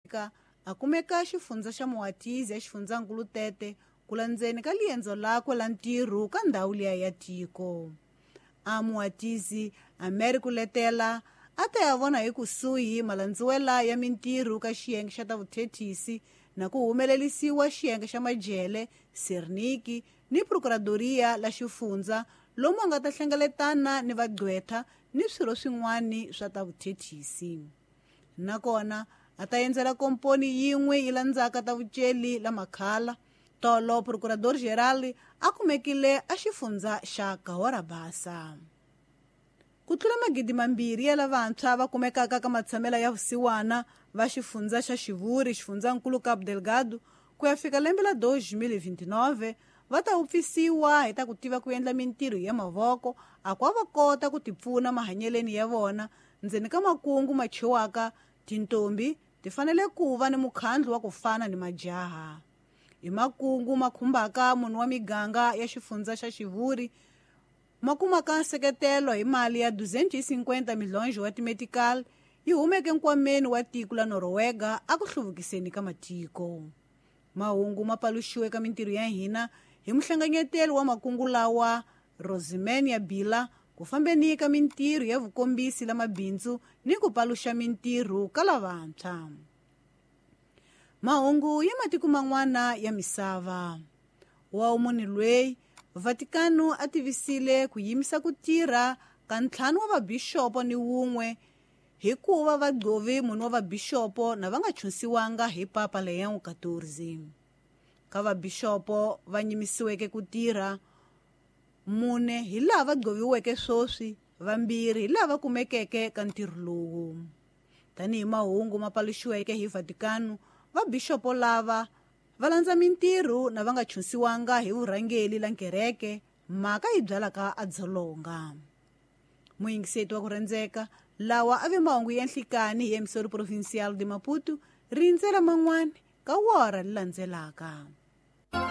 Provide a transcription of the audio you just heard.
Ka a kumeka xifundza xa Moatize ya xifundzankulu Tete ku landzeni ka liendzo lakwe la ntirho ka ndhawu liya ya tiko. A Moatize a mere ku letela a ta ya vona hi kusuhi malandziwela ya mintirho ka xiyenge xa ta vuthethisi na ku humelerisiwa xiyenge xa majele, Serniki ni Procuradoria la xifundza lomu a nga ta hlengeletana ni vagqwetha ni swirho swin'wana swa ta vuthethisi. Nakona a ta endzela komponi yin'we yi landzaka ta vuceli la Makhala. Tolo Procurador Geral a kumekile a xifundza xa Cahora Bassa. Ku tlula 2,000 ya lavantshwa va kumekaka ka matshamela ya vusiwana va xifundza xa Xivuri, xifundzankulu Cabo Delgado, ku ya fika lembe la 2029 va ta upfisiwa hi ta ku tiva ku endla mintirho ya mavoko a kwa va kota ku tipfuna mahanyeleni ya vona ndzeni ka makungu machiwaka tintombi ti fanele ku va ni mukhandlu wa ku fana ni majaha. Hi makungu makhumbaka munhu wa miganga ya xifundza xa Xivuri makumaka nseketelo hi mali ya 250 milhonjo wa timetical yi humeke nkwameni wa tiko la Norwega a ku hluvukiseni ka matiko. Mahungu ma paluxiwe ka mintirho ya hina hi muhlanganyeteli wa makungu lawa Rosemania Bila ku fambeni ka mintirho ya vukombisi la mabindzu ni ku paluxa mintirho ka lavantshwa. Mahungu ya matiko man'wana ya misava. Wa munhu loyi Vatikano a tivisile ku yimisa ku tirha ka 5 wa vabishopo ni wun'we hikuva va gqovi munhu wa vabishopo na va nga chunsiwanga hi Papa Leon XIV. Ka vabishopo va nyimisiweke ku tirha 4 hi laha va gqoviweke swoswi, 2 hi laha va kumekeke ka ntirho lowu. Tanihi mahungu ma paluxiweke hi Vatikano, vabishopo lava va landza mintirho na va nga chunsiwanga hi vurhangeli la nkereke, mhaka yi byalaka a dzolonga. Muyingiseti wa ku rhandzeka, lawa a ve mahungu ya nhlikani hi emisori Provincial de Maputo, rindzela man'wana ka wora li landzelaka.